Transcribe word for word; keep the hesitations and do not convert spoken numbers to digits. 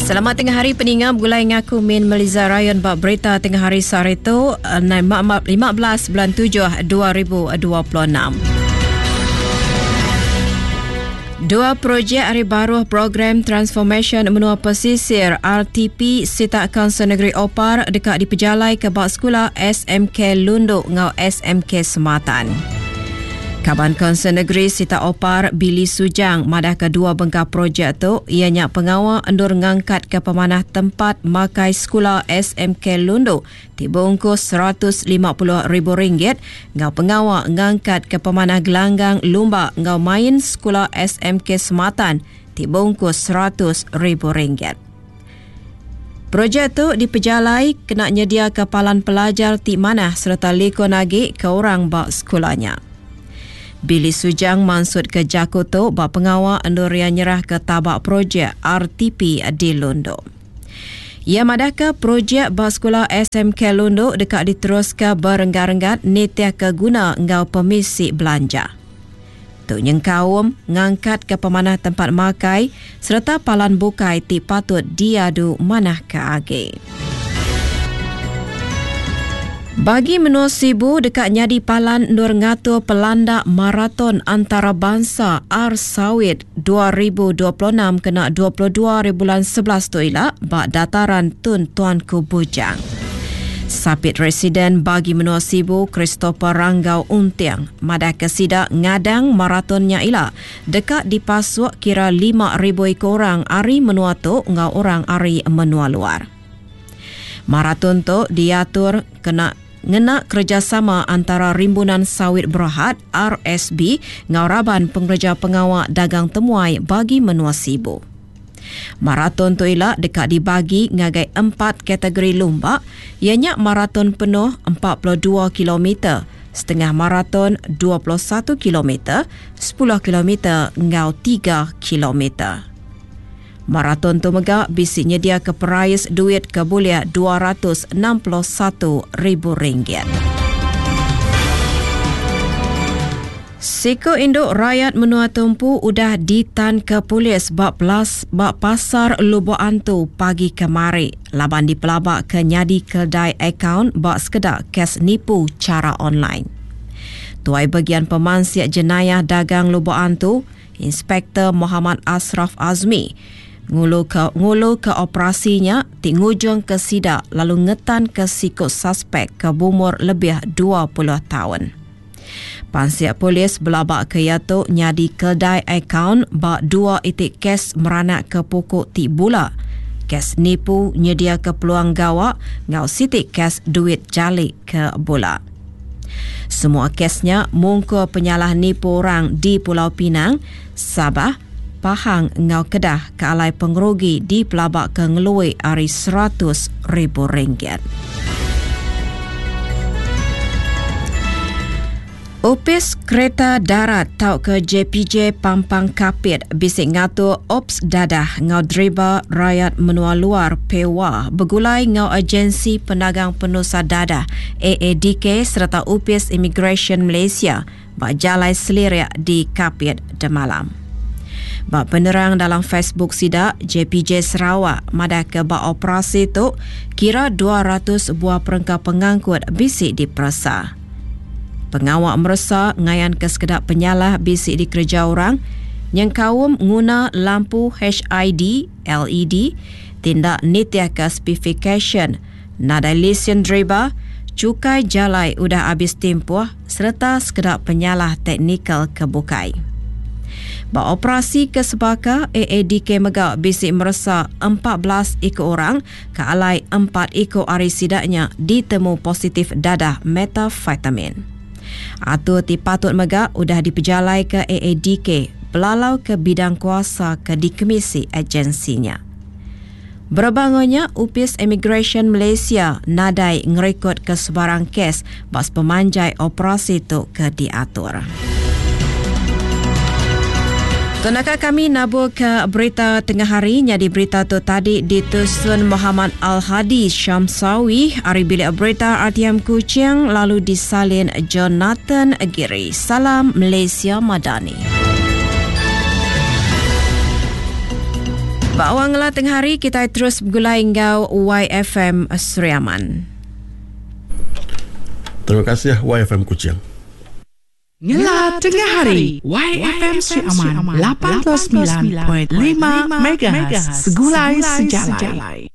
Selamat tengah hari peninga begulai ngaku Min Meliza Rayon bak berita tengah hari sehari tu lima belas bulan tujuh dua ribu dua puluh enam. Dua projek hari baru program Transformation Menua Pesisir R T P Sitak Kaunsil Negeri Opar dekat dipejalai ke bak sekolah S M K Lundu ngau S M K Sematan. Kaban Kaunsil Negeri Sitak Opar Billy Sujang madah kedua bengkah projek tu ianya pengawal endur ngangkat ke pemanah tempat makai sekolah S M K Lundu ti bungkus seratus lima puluh ribu ringgit ngau pengawal ngangkat ke pemanah gelanggang lumba ngau main sekolah S M K Sematan ti bungkus seratus ribu ringgit. Projek tu dipejalai kena nyedia kepalan pelajar ti manah serta likun agi ke orang bak sekolahnya. Billy Sujang mansut ke jaku tu bak pengawal endur ia nyerah ke tabak projek R T P di Lundu. Ia madah ke projek bak sekolah S M K Lundu dekat diteruskan berenggat-renggat nitiah ke guna ngau pemisi belanja. Tu nyengkaum ngangkat ke pemanah tempat makai serta palan bukai ti patut diadu manah ke agi. Bagi menua Sibu dekat nyadi palan nur ngatur pelanda maraton antarabangsa R Sawit dua ribu dua puluh enam kena dua puluh dua bulan sebelas tu ila bak dataran Tun Tuanku Bujang. Sapit Residen bagi menua Sibu Christopher Ranggau Untiang madah ke sida ngadang maratonnya ila dekat dipasuk kira lima ribu ekor orang ari menua tu ngau orang ari menua luar. Maraton tu diatur kena ngena kerjasama antara Rimbunan Sawit Berhad R S B ngau raban pengerja pengawal dagang temuai bagi menua Sibu. Maraton tu ila dekat dibagi ngagai empat kategori lumba, ianya maraton penuh empat puluh dua kilometer, setengah maraton dua puluh satu kilometer, sepuluh kilometer ngau tiga kilometer. Maraton tu mega bisi nyedia ke perais duit ke boleh dua ratus enam puluh satu ribu ringgit. Siko induk rakyat menua tumpu udah ditan ke polis bak pelas bak pasar Lubok Antu pagi kemari. Laban dipelabak ke nyadi kedai akaun bak sekedak kes nipu cara online. Tuai bagian pemansiak jenayah dagang Lubok Antu, Inspektor Muhammad Ashraf Azmi, ngulu ke, ngulu ke operasinya ti ngujung ke sidak lalu ngetan ke sikut suspek ke bumur lebih dua puluh tahun. Pansiak polis belabak ke iatu nyadi kedai akaun bak dua itik kes meranak ke pokok ti bula. Kes nipu nyedia ke peluang gawak ngau sitik kes duit jalik ke bula. Semua kesnya mungkur penyalah nipu orang di Pulau Pinang, Sabah, Pahang ngau Kedah ke alai pengerugi di pelabak ke ngeluai ari seratus ribu ringgit. Opis Kereta Darat tau ke J P J Pampang Kapit bisik ngatur Ops Dadah ngau driba rakyat menua luar P W A begulai ngau Agensi Penagang Penusa Dadah A A D K serta Opis Immigration Malaysia bak jalai seliriak di Kapit Demalam. Bak penerang dalam Facebook sidak J P J Sarawak madah ke bak operasi tu kira dua ratus buah perengka pengangkut bisik diperesa. Pengawak meresa ngayan ke sekedap penyalah bisik dikerja orang yang kaum nguna lampu H I D, L E D, tindak nitiah ke specification, nadai lesen driver, cukai jalai udah habis tempoh serta sekedap penyalah teknikal kebukai. Beroperasi ke sebaka, A A D K mega bisik meresa empat belas ekor orang ke alai empat ekor ari sidaknya ditemu positif dadah metafetamin. Atur ti patut mega udah dipejalai ke A A D K pelalau ke bidang kuasa ke dikemisi agensinya. Berbangunnya, Upis Immigration Malaysia nadai ngerekod ke sebarang kes bas pemanjai operasi tu ke diatur. Tunaka kami nabur ke berita tengah hari. Jadi berita tu tadi ditusun Muhammad Al-Hadi Syamsawi ari bilik berita R T M Kuching lalu disalin Jonathan Giri. Salam Malaysia Madani. Ba awang ngelah tengah hari kita terus begulai enggau Y F M Sri Aman. Terima kasih Y F M Kuching. Ngela tengah hari Y F M Sri Aman lapan puluh semilan perpuluhan lima M H segulai sejalai.